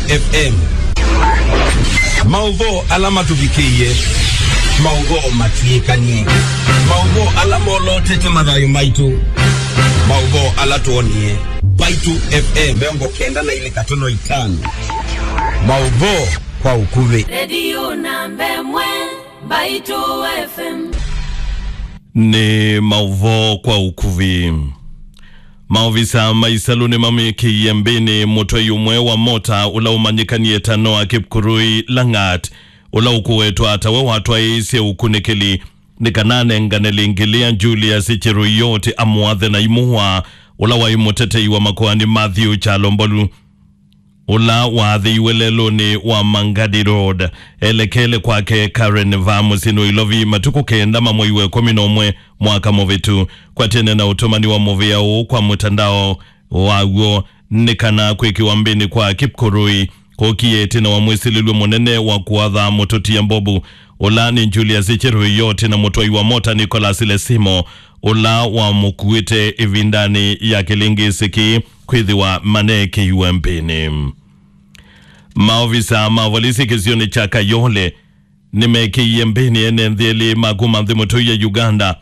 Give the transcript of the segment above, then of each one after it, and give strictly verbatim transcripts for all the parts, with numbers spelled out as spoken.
F M. Maũvoo ala matũvikĩie, maũvoo matw'ĩkanie, maũvoo ala molotete mathayũ maitũ, maũvoo ala twonie. Mbaitu F M mĩongo kenda na ilĩ katono itano. Maũvoo kwa ũkuvĩ. Redio namba ĩmwe, Mbaitu F M. Nĩ maũvoo kwa ũkuvĩ. Maovisa ma isalũ nĩmamĩkĩie mbĩnĩ mũtwai ũmwe wa mota ũla ũmanyĩkanie ta Noah Kipkurui Langat, ũla ũkũwetwa ta we watwaĩĩsye ũkunĩkĩli nĩ kana anengane lĩngĩlĩa Julius Cheruiyot amũathe na imũa, ũla waĩ mũtetei wa makoani Matthew Kyalo Mbolu, ũla waathĩiwe lelũnĩ wa Mangadi Road, elekele kwake Karen va mũsyĩnĩ wa Ilovi matukũ kenda ma mwei wa ĩkũmi na ũmwe mwaka mũvĩtu. Kwatene na ũtũmani wa mũvĩa ũũ kwa mũtandao waw'o nĩ kana kwĩkĩwa mbĩnĩ kwa Kipkurui kũkie ĩtina wa mwĩsilĩlw'e mũnene wa kũatha mũtũtia mbovu, ũla nĩ Julius Cheruiyot na mũtwai wa mota Nicholas Lesimo, ũla wamũkuĩte ĩvindanĩ ya kĩlĩngĩsĩ kĩĩ kwĩthĩwa maneekĩiwe mbĩnĩ. Maovisa ma volisi kĩsionĩ kya Kayole nĩmekĩie mbĩnĩ ene nthĩ elĩ ma kuma nthĩ mũtũi ya Uganda,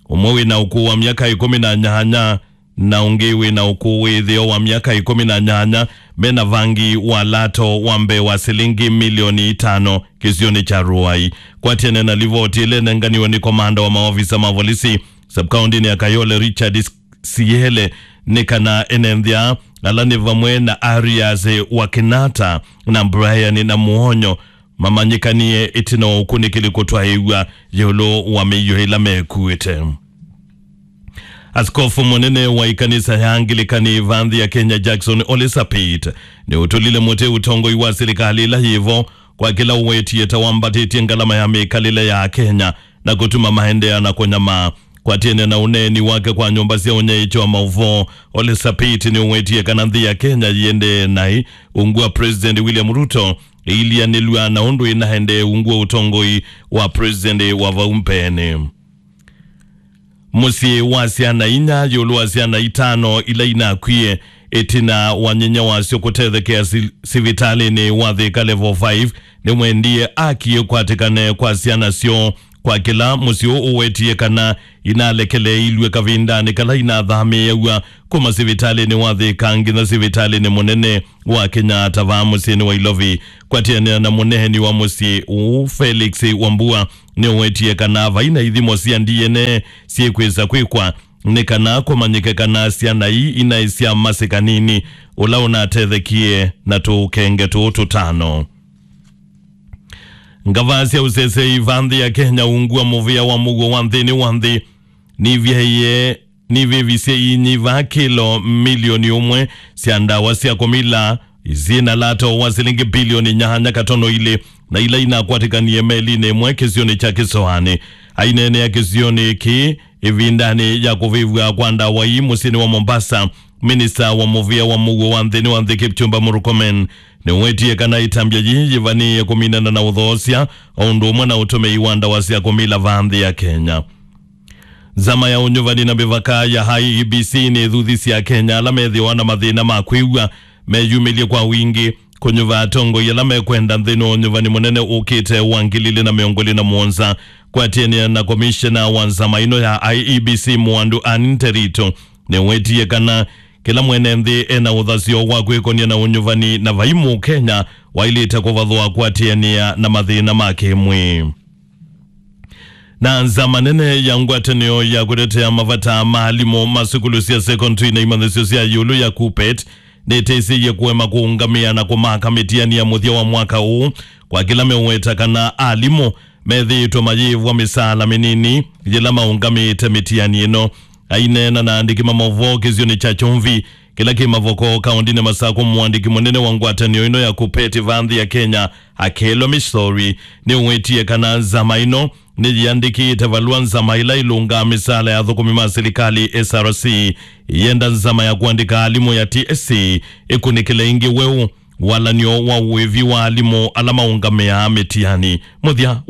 ũmwe wĩ na ũkũũ wa myaka ĩkũmi na nyanya na ũngĩ wĩ na ũkũũ wĩ ĩtheo wa myaka ĩkũmi na nyanya, me na vangi wa lato wa mbee wa silingi milioni itano kĩsionĩ kya Ruai. Kwatene na livoti ĩla ĩnenganiwe nĩ komanda wa maovisa ma volisi sub-kaũntĩnĩ ya Kayole, Richard Siele, nĩ kana ene nthĩ aa, ala nĩ vamwe na Arias Wakinata na Brian Namuonyo, mamanyĩkanie ĩtina wa ũkunĩkĩli kũtwaĩw'a ĩũlũ wa mĩio ĩla mekuĩte. Askofu mũnene wa ĩkanisa ya Angilikani va nthĩ ya Kenya, Jackson Ole Sapit, nĩũtũlile mũtĩ ũtongoi wa silikalĩ ĩla yĩvo kwa kĩla ũwetie ta wambatĩtye ngalama ya mĩkalĩle ya Akenya na kũtuma maendeea na kũnyamaa. Kwatene na ũneeni wake kwa nyũmba sya ũnyaĩĩkyo wa maũvoo, Ole Sapit nĩũwetie kana nthĩ ya Kenya yĩendee naĩ ungu wa President William Ruto ĩilianĩlw'a na ũndũ ĩnaendee ungu wa ũtongoi wa President wa vau mbeenĩ. Mũsyĩ wa syana inya ĩũlũ wa syana itano ila inakwie ĩtina wa nyinya wasyo kũtethekea si-, sivitalĩnĩ wa Thika Level five nĩwendie aki ĩkwatĩkane kwa syana syoo, kwa kĩla mũsyĩ ũũ ũwetie kana inalekeleeilw'e kavindanĩ kala inathamĩĩaw'a kuma sivitalĩnĩ wa Thika nginya sivitalĩnĩ mũnene wa Kenyatta vaa mũsyĩnĩ wa Ilovi. Kwatĩanĩa na mũneeni wa mũsyĩ ũũ, Felix Wambua, nĩũwetie kana vai na ithimo sya D N A syĩkwĩsa kwĩkwa nĩ kana kũmanyĩke kana syana ii inaĩ sya masĩ kanini ũla ũnatethekie na tũũkenge tũũ tũtano. Ngavaa sya ũsesei va nthĩ ya Kenya ungu wa mũvĩa wa mũuo wa nthĩnĩ wa nthĩ nivyaie nivĩvisye inyiva kĩlo milioni ũmwe sya ndawa sya kũmila syĩ na lato wa silingi bilioni nyanya katono ilĩ, na ila inakwatĩkanie melinĩ ĩmwe kĩsionĩ kya Kĩsoanĩ. Aineenea kĩsionĩ kĩĩ ĩvindanĩ ya kũvĩvw'a kwa ndawa ii mũsyĩnĩ wa Mombasa, minista wa mũvĩa wa mũuo wa nthĩnĩ wa nthĩ Kipchumba Murkomen nĩwetie kana ĩtambya yĩĩ yĩvanĩĩe kũminana na ũthoosya o ũndũ ũmwe na ũtũmĩi wa ndawa sya kũmila va nthĩ ya Kenya. Nzama ya ũnyuvani na mĩvaka ya I E B C nĩĩthuthisye Akenya ala methĩwa na mathĩna ma kwĩw'a meyumĩlye kwa wingĩ kũnyuva atongoi ala mekwenda nthĩnĩ wa ũnyuvani mũnene ũkĩte wa ngili ilĩ na mĩongo ĩlĩ na mũonza. Kwatĩanĩa na komishena wa nzama ĩno ya I E B C Mwandu Anne Nterito, nĩwetie kana kĩla mwene nthĩ ena ũthasyo wa kwĩkony'a na ũnyuvani na vai Mũkenya waĩlĩte kũvathwa kwatĩanĩa na mathĩna ma kĩmwĩĩ. Na nzama nene ya ngwatanĩo ya kũtetea mavata ma alimũ ma sukulu sya sekondari na imanyĩsyo sya ĩũlũ ya KUPPET nĩtĩsĩie kũema kũũngamĩa na kũmaka mĩtiani ya mũthya wa mwaka ũũ, kwa kĩla meũweta kana alimũ methĩĩtwe mayĩĩvwa mĩsaala mĩnini yĩla maũngamĩĩte mĩtiani ĩno. Aineena na andĩki ma maũvoo kĩsionĩ kya Kyumvi kĩla kĩ Mavoko, kaũndĩnĩ Masakũ, mũandĩki mũnene wa ngwatanĩo ĩno ya KUPPET va nthĩ ya Kenya, Akello Misori, nĩũwetie kana nzama ĩno nĩyĩandĩkĩte valũa nzama ĩla ĩlũngaa mĩsaala ya athũkũmi ma silikalĩ, S R C, ĩyenda nzama ya kũandĩka alimũ ya T S C ĩkunĩkĩle ĩngĩ weũ walan'yo wa ũĩvi wa alimũ ala maũngamĩaa mĩtiani. Mũthya wa